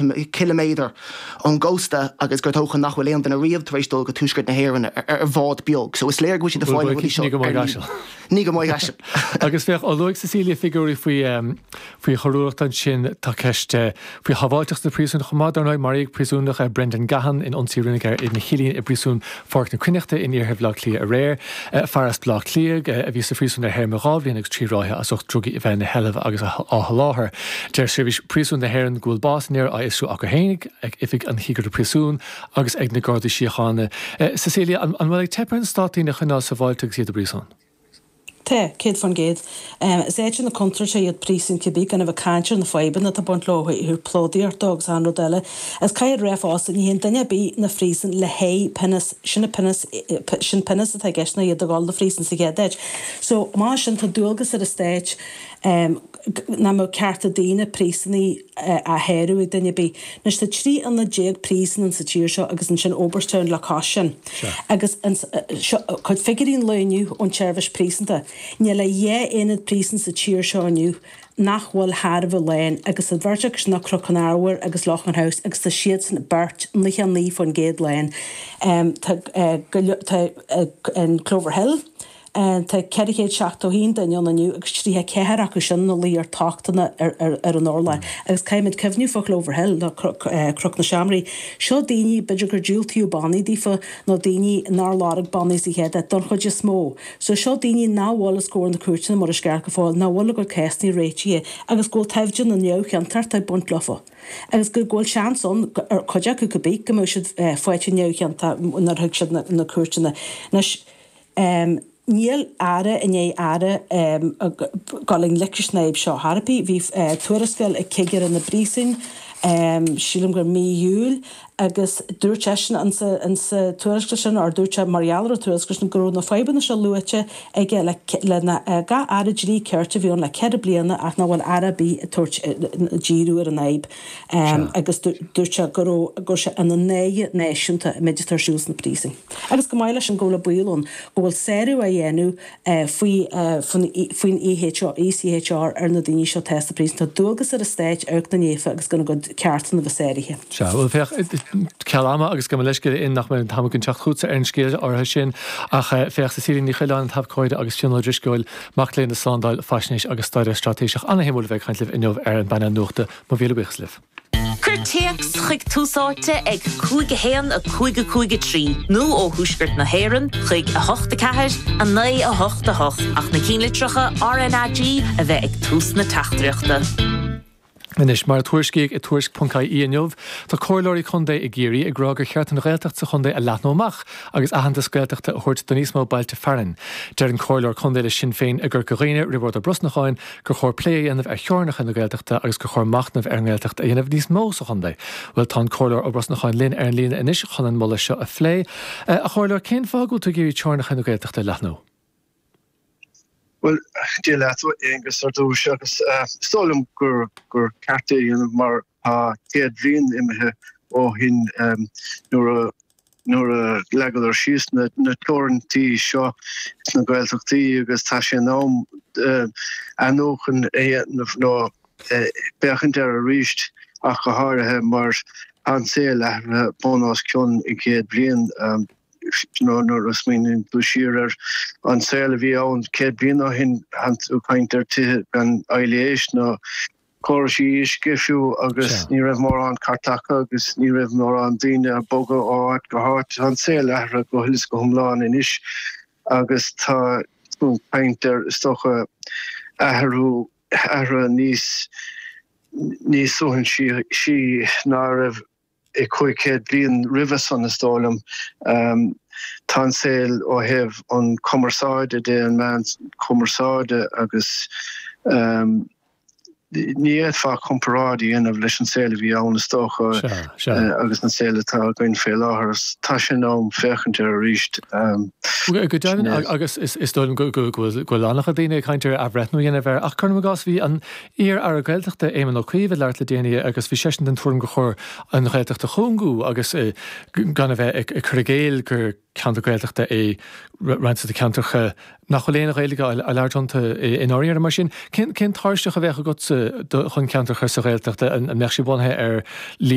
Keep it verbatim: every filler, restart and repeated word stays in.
ciliméadar ón gcósta agus gur dócha nach bhfuil aon duine riamh tar éis dul go tuaisceart na hÉireann ar bhád beag. So is léir go bhfuil siad ag fáil na rudaí seo. Ní go Maigh Ní go Maigh Caisil. Agus féach ó luaigh Cecilia figiúirí faoi faoi choiriúlacht ansin tá ceist faoi shábháilteacht na príosún chomh maith dar ndóigh maraíodh príosúnach Brendan Gahan in ionsaí a rinneadh air ina chillín i bpríosún Pháirc na Cruithneachta in iarthar Bhaile Átha Cliath aréir. Fear as Baile Átha Cliath a bhí sa phríosún ar théarma dhá bhliain agus trí ráithe as ucht drugaí a bheith ina sheilbh agus á sholáthar. Deir Seirbhís Príosún na hÉireann go bhfuil bás an fhir á fhiosrú acu féin ag Oifig an Chigire Príosún agus ag na Gardaí Síochána. Cecilia, an bhfuil ag teip ar an stát daoine a choinneáil sábháilte agus iad i bpríosún? Tá, céad faoin gcéad. Is áiteanna contúirte iad príosúin cibé gan a bheith ag caint ar na fadhbanna atá ag baint leo ó thaobh plódaíocht agus achan rud eile. Is caithfidh a rá fosta, ní théann duine ar bith 'na phríosún le haghaidh pionós, sin pionós, sin pionós atá i gceist ná iad ag dul 'na phríosún sa chéad áit. So mar sin tá dualgas ar an stát nach mbeadh cearta daoine príosúnaigh á shárú ag duine ar bith. Anois tá trí ionad déag príosún sa tír seo agus ansin Oberstown le cois sin. Agus seo cuid figiúirí an lae inniu ón tseirbhís príosúnta. Níl ach dhá aonad príosún sa tír seo inniu nach bhfuil thar a bheith lán agus an bheirt acu sin ná Cnoc an Arbhair agus Loughan House agus tá siadsan beirt nócha naoi faoin gcéad lán. Tá tá an Clover Hill, Tá ceithre chéad seachtó a haon duine ann inniu agus tríocha ceathair acu sin ina luí ar tochtanna ar an urlár. Agus caithfimid cuimhniú fá Clover Hill nó Cnoc na Seamraí. Seo daoine, b'fhéidir gur diúltaíodh bannaí daofa nó daoine nár lorg bannaí sa chéad áit, don chuid is mó. So seo daoine nach bhfuil os comhair na cúirteanna mar is ceart go fóill, nach bhfuil a gcuid cásanna réitithe agus go bhfuil toimhde na neamhchiontachta ag baint leofa. Agus go bhfuil seans ann, ar chuid acu cibé, go mbeidh siad faighte neamhchiontach nuair a thig siad na cúirteanna. Anois, níl aire i ndiaidh aire ag dul i ngleic leis an fhadhb seo chor ar bith. Bhí tuarascáil ag cigire na bpríosún, sílim gur mí Iúil, agus dúirt seisean insa tuarascáil sin, or dúirt sé mar gheall ar an tuarascáil sin, go raibh na fadhbanna seo luaite aige le gach aire dlí cirt a bhí ann le ceithre bliana ach nach bhfuil aire ar bith ag tabhairt díriú ar an fhadhb. Agus dúirt sé go raibh go raibh sé ina náire náisiúnta an méid atá ar siúl sna príosúin. Agus chomh maith leis sin go bhfuil an baol ann go bhfuil sárú á dhéanamh faoi faoin ECHR ar na daoine seo atá sna príosúin. Tá dualgas ar an stát amharc ina ndiaidh agus gan a gcuid ceartanna a bheith sáraithe. Sea, bhuel féach, ceal ama agus gabh mo leithscéal in nach mbeidh an t-am againn teacht chugatsa ar an scéal áirithe sin ach féach Cecilia Ní Choileáin, an t-abhcóide agus Fionn Ó Drisceoil, mac léinn i Slándáil, Faisnéis agus Staidéar Straitéiseach. Ana-shuimiúil a bheith ag caint libh inniu ar an bpainéal nuachta. Mo mhíle buíochas libh. Cuir téacs chuig Tús Áite ag cúig a haon a cúig a cúig a trí nó ó Thuaisceart na hÉireann chuig a hocht a ceathair a naoi a hocht a hocht ach na cinnlitreacha RnaG a bheith ag tús na teachtaireachta. Anois, mar a tuairiscíodh i Tuairisc ponc ie inniu, tá comhairleoirí contae i gCiarraí ag rá gur cheart an Ghaeltacht sa chontae a leathnú amach agus aitheantas Gaeltachta a thabhairt do níos mó bailte fearainn. Deir an comhairleoir contae le Sinn Féin i gCorca Dhuibhne, Roibeárd Ó Brosnacháin, gur chóir plé a dhéanamh ar theorainneacha na Gaeltachta agus gur chóir machnamh ar an nGaeltacht a dhéanamh níos mó sa chontae. Bhuel, tá an comhairleoir Ó Brosnacháin linn ar an líne anois chun an moladh seo a phlé. A chomhairleoir, cén fáth go bhfuil tú ag iarraidh teorainneacha na Gaeltachta a leathnú? Bhuel, Dia leat, a Aonghus, ar dtús, agus is dóigh liom gur gur ceart é a dhéanamh mar tá céad bliain imithe ó shin nuair a nuair a leagadar síos na na teorainntí seo sna Gaeltachtaí agus tá sé in am athnuachan a dhéanamh nó féachaint air arís ach go háirithe mar tá an saol athraithe bun os cionn i gcéad bliain. Nuair a smaoiníonn tú siar ar an saol a bhí ann céad bliain ó shin, tánn tú ag caint ar tithe gan aibhléis nó córais uisce fiú agus ní raibh mórán cairteacha agus ní raibh mórán daoine ag bogadh ó áit go háit. Tá an saol athraithe go huile is go hiomlán anois agus tá tú ag caint ar, is dócha, athrú, athruithe níos, níos suaithinsí ná a raibh i cúig chéad bliain roimhe san, is dóigh liom. Tá an saol ó thaobh an cumarsáide de, an meán cumarsáide agus ní fhéadfá comparáid a dhéanamh leis an saol a bhí ann, is dócha, agus an saol atá againn fé láthair. Tá sé in am féachaint air arís. Go deimhin, agus is dóigh liom go bhfuil an-chuid daoine ag caint ar athbhreithniú a dhéanamh air, ach cuirim i gcás, bhí an Iar-Aire Gaeltachta Éamon Ó Cuív ag labhairt le déanaí agus bhí seisean den tuairim gur chóir an Ghaeltacht a chúngú agus gan a bheith ag cur i gcéill gur ceantar Gaeltachta é roinnt de na ceantracha nach bhfuil aon Ghaeilge á labhairt iontu i ndáiríre. Mar sin, cén tairseach a bheadh agatsa chun ceantar a chur sa Ghaeltacht? An mbeadh sé bunaithe ar líon